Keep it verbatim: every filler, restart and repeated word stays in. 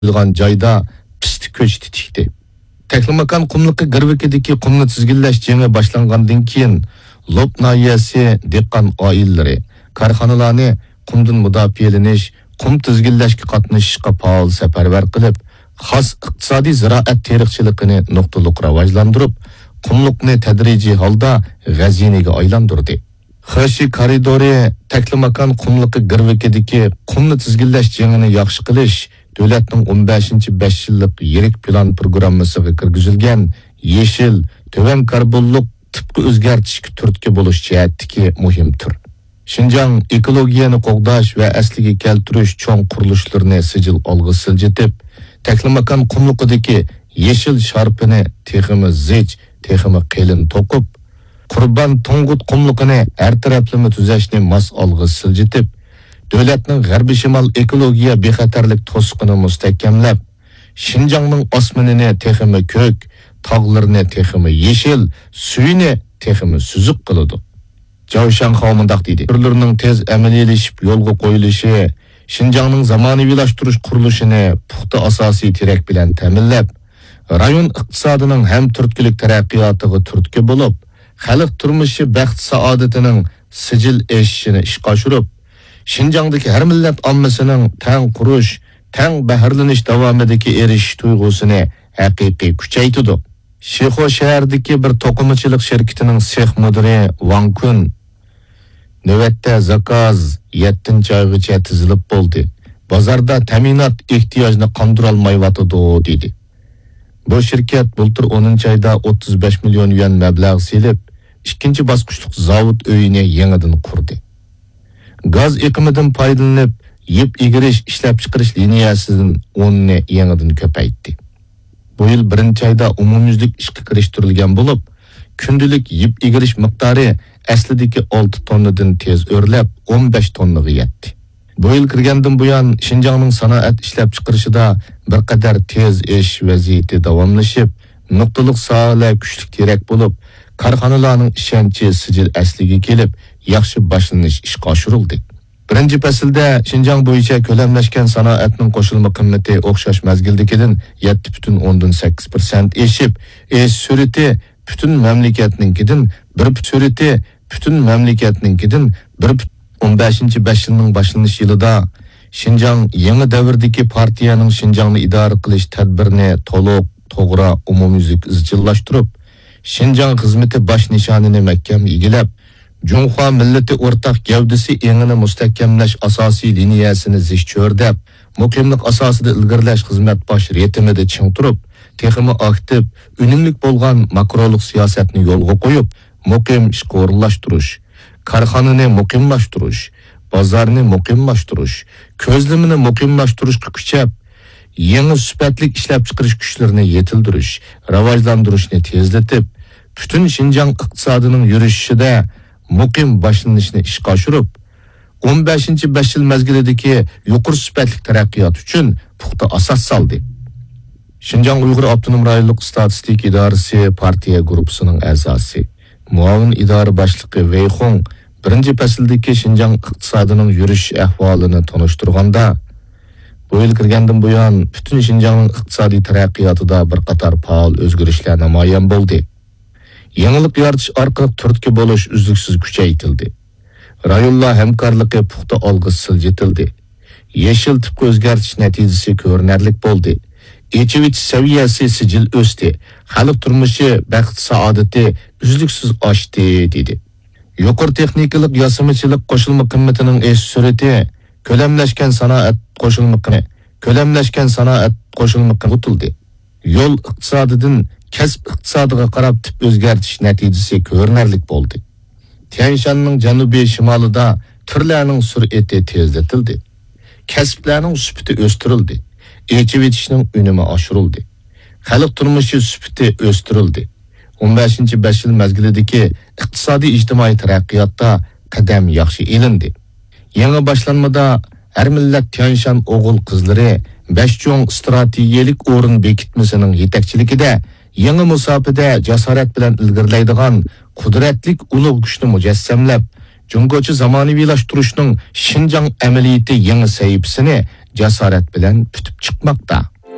قويۇلغان جايدا پىستە كۆچىتى تىكتى. تەكلىماكان قۇملۇقى گىرۋىكىدىكى قۇمنى تىزگىنلەش جېڭى باشلانغاندىن كېيىن، لوپ ناھىيەسى دېھقان ئائىلىلىرى، كارخانىلارنى قۇمدىن مۇداپىئەلىنىش، قۇم تىزگىنلەشكە قاتنىشىشقا پائال سەپەرۋەر قىلىپ، خاس ئىقتىسادىي زىرائەت تېرىقچىلىقىنى نۇقتىلىق راۋاجلاندۇرۇپ، قۇملۇقنى تەدرىجىي ھالدا غەزىنىگە ئايلاندۇردى. خېشى كارىدورى تەكلىماكان قۇملۇقى گىرۋىكىدىكى قۇمنى تىزگىنلەش جېڭىنى ياخشى قىلىش دۆلەتنىڭ ئون بەشىنچى بەش يىللىق يىرىك پىلان پروگراممىسىغا كىرگۈزۈلگەن يېشىل، تۆۋەن كاربونلۇق تىپقا ئۆزگەرتىشكە تۈرتكە بولۇش جەھەتتىكى مۇھىم تۈر. شىنجاڭ ئېكولوگىيەنى قوغداش ۋە ئەسلىگە كەلتۈرۈش چوڭ قۇرۇلۇشلىرىنى سىجىل ئالغا سىلجىتىپ، تەكلىماكان قۇملۇقىدىكى يېشىل شارپىنى تېخىمۇ زىچ، تېخىمۇ قېلىن توقۇپ، قۇربان تۇڭگۇت قۇملۇقىنى ھەر تەرەپلىمە تۈزەشنى ماس ئالغا سىلجىتىپ، دۆلەتنىڭ غەربىي شىمال ئېكولوگىيە بىخەتەرلىك توسۇقىنى مۇستەھكەملەپ، شىنجاڭنىڭ ئاسمىنىنى تېخىمۇ كۆك، تاغلىرىنى تېخىمۇ يېشىل، سۈيىنى تېخىمۇ سۈزۈك قىلىدۇ. جاۋ شياڭخاۋ مۇنداق دېدى: تۈرلىرىنىڭ تېز ئەمەلىيلىشىپ يولغا قويۇلۇشى شىنجاڭنىڭ زامانىۋىلاشتۇرۇش قۇرۇلۇشىنى پۇختا ئاساسىي تىرەك بىلەن تەمىنلەپ، رايون ئىقتىسادىنىڭ ھەم تۈرتكىلىك تەرەققىياتىغا تۈرتكە بولۇپ، خەلق تۇرمۇشى بەخت-سائادىتىنىڭ سىجىل ئېشىشىنى ئىشقا ئاشۇرۇپ، شىنجاڭدىكى ھەر مىللەت ئاممىسىنىڭ تەڭ قۇرۇش، تەڭ بەھرىلىنىش داۋامىدىكى ئېرىشىش تۇيغۇسىنى ھەقىقىي كۈچەيتىدۇ. شىخۇ شەھەردىكى بىر توقۇمىچىلىق شىركىتىنىڭ سېخ مۇدىرى ۋاڭ كۈن نۆۋەتتە زاكاز يەتتىنچى ئايغىچە تىزىلىپ بولدى. بازاردا تەمىنات ئېھتىياجنى قاندۇرالمايۋاتىدۇ، دېدى. بۇ شىركەت بۇلتۇر ئونىنچى ئايدا ئوتتۇز بەش مىليون يۈەن مەبلەغ سېلىپ، ئىككىنچى باسقۇچلۇق زاۋۇت ئۆيىنى يېڭىدىن قۇردى. گاز ئېقىمىدىن پايدىلىنىپ، يىپ ئېگىرىش ئىشلەپچىقىرىش لىنىيەسىدىن ئوننى يېڭىدىن كۆپەيتتى. بۇ يىل بىرىنچى ئايدا ئومۇميۈزلۈك ئىشقا كىرىشتۈرۈلگەن بولۇپ، كۈندىلىك يىپ ئېگىرىش مىقدارى ئەسلىدىكى ئالتە توننىدىن تېز ئۆرلەپ، ئون بەش توننىغا يەتتى. بۇ يىل كىرگەندىن بۇيان، شىنجاڭنىڭ سانائەت ئىشلەپچىقىرىشىدا بىر قەدەر تېز ئېشىش ۋەزىيىتى داۋاملىشىپ، نۇقتىلىق ساھەلەر كۈچلۈك تىرەك بولۇپ، كارخانىلارنىڭ ئىشەنچى سىجىل ئەسلىگە كېلىپ، ياخشى باشلىنىش ئىشقا ئاشۇرۇلدى. بىرىنچى پەسىلدە شىنجاڭ بويىچە كۆلەملەشكەن سانائەتنىڭ قوشۇلما قىممىتى ئوخشاش مەزگىلدىكىدىن يەتتە پۈتۈن ئوندىن سەككىز پىرسەنت ئېشىپ، ئېشىش سۈرئىتى پۈتۈن مەملىكەتنىڭكىدىن بىر پۈت-، سۈرئىتى پۈتۈن مەملىكەتنىڭكىدىن بىر پۈت-، ئون بەشىنچى بەش يىلنىڭ باشلىنىش يىلىدا شىنجاڭ يېڭى دەۋردىكى پارتىيەنىڭ شىنجاڭنى ئىدارە قىلىش تەدبىرىنى تولۇق، توغرا، ئومۇميۈزلۈك ئىزچىللاشتۇرۇپ، شىنجاڭ خىزمىتى باش نىشانىنى مەھكەم ئىگىلەپ، جۇڭخۇا مىللىتى ئورتاق گەۋدىسى ئېڭىنى مۇستەھكەملەش ئاساسىي لىنىيەسىنى زىچ چۆرىدەپ، مۇقىملىق ئاساسىدا ئىلگىرىلەش خىزمەت باش رىتىمىدا چىڭ تۇرۇپ، تېخىمۇ ئاكتىپ، ئۈنۈملۈك بولغان ماكرولۇق سىياسەتنى يولغا قويۇپ، مۇقىم ئىشقا ئورۇنلاشتۇرۇش، كارخانىنى مۇقىملاشتۇرۇش، بازارنى مۇقىملاشتۇرۇش، كۆزلىمىنى مۇقىملاشتۇرۇشقا كۈچەپ، يېڭى سۈپەتلىك ئىشلەپچىقىرىش كۈچلىرىنى يېتىلدۈرۈش، راۋاجلاندۇرۇشنى تېزلىتىپ، پۈتۈن شىنجاڭ ئىقتىسادىنىڭ يۈرۈشۈشىدە مۇقىم باشلىنىشنى ئىشقا ئاشۇرۇپ، ئون بەشىنچى بەش يىل مەزگىلىدىكى يۇقىرى سۈپەتلىك تەرەققىيات ئۈچۈن پۇختا ئاساس سالدى. شىنجاڭ ئۇيغۇر ئاپتونوم رايونلۇق ئىستاتىستىكا ئىدارىسى پارتىيە گۇرۇپپىسىنىڭ ئەزاسى، مۇئاۋىن ئىدارە باشلىقى ۋېي خۇڭ بىرىنچى پەسىلدىكى شىنجاڭ ئىقتىسادىنىڭ يۈرۈش ئەھۋالىنى تونۇشتۇرغاندا، بۇ يىل كىرگەندىن بۇيان، پۈتۈن شىنجاڭنىڭ ئىقتىسادىي تەرەققىياتىدا بىر قاتار پائال ئۆزگىرىشلەر نامايان بولدى. يېڭىلىق يارىتىش ئارقىلىق تۈرتكە بولۇش ئۈزلۈكسىز كۈچەيتىلدى. رايونلار ھەمكارلىقى پۇختا ئالغا سىلجىتىلدى. يېشىل تىپقا ئۆزگەرتىش نەتىجىسى كۆرۈنەرلىك بولدى. ئېچىۋېتىش سەۋىيەسى سىجىل ئۆستى. خەلق تۇرمۇشى، بەخت-سائادىتى ئۈزلۈكسىز ئاشتى، دېدى. يۇقىرى تېخنىكىلىق ياسىمىچىلىق قوشۇلما قىممىتىنىڭ ئېشىش سۈرئىتى، كۆلەملەشكەن سانائەت قوشۇلما قىممىتى، كۆلەملەشكەن سانائەت قوشۇلما قىممىتى ئۇتۇلدى. يول ئىقتىسادىدىن كەسىپ ئىقتىسادىغا قاراپ تىپ ئۆزگەرتىش نەتىجىسى كۆرۈنەرلىك بولدى. تيەنشاننىڭ جەنۇبىي شىمالىدا تۈرلەرنىڭ سۈرئىتى تېزلىتىلدى. كەسىپلەرنىڭ سۈپىتى ئۆستۈرۈلدى. ئېچىۋېتىشنىڭ ئۈنۈمى ئاشۇرۇلدى. خەلق تۇرمۇشى سۈپىتى ئۆستۈرۈلدى. ئون بەشىنچى بەش يىل مەزگىلىدىكى ئىقتىسادىي ئىجتىمائىي تەرەققىياتتا قەدەم ياخشى ئېلىندى. يېڭى باشلانمىدا ھەر مىللەت تيەنشان ئوغۇل-قىزلىرى بەش چوڭ ئىستراتېگىيەلىك ئورۇن بېكىتمىسىنىڭ يېتەكچىلىكىدە يېڭى مۇساپىدە جاسارەت بىلەن ئىلگىرىلەيدىغان قۇدرەتلىك ئۇلۇغ كۈچنى مۇجەسسەملەپ، جۇڭگوچە زامانىۋىلاشتۇرۇشنىڭ شىنجاڭ ئەمەلىيىتى يېڭى سەھىپىسىنى جاسارەت بىلەن پۈتۈپ چىقماقتا.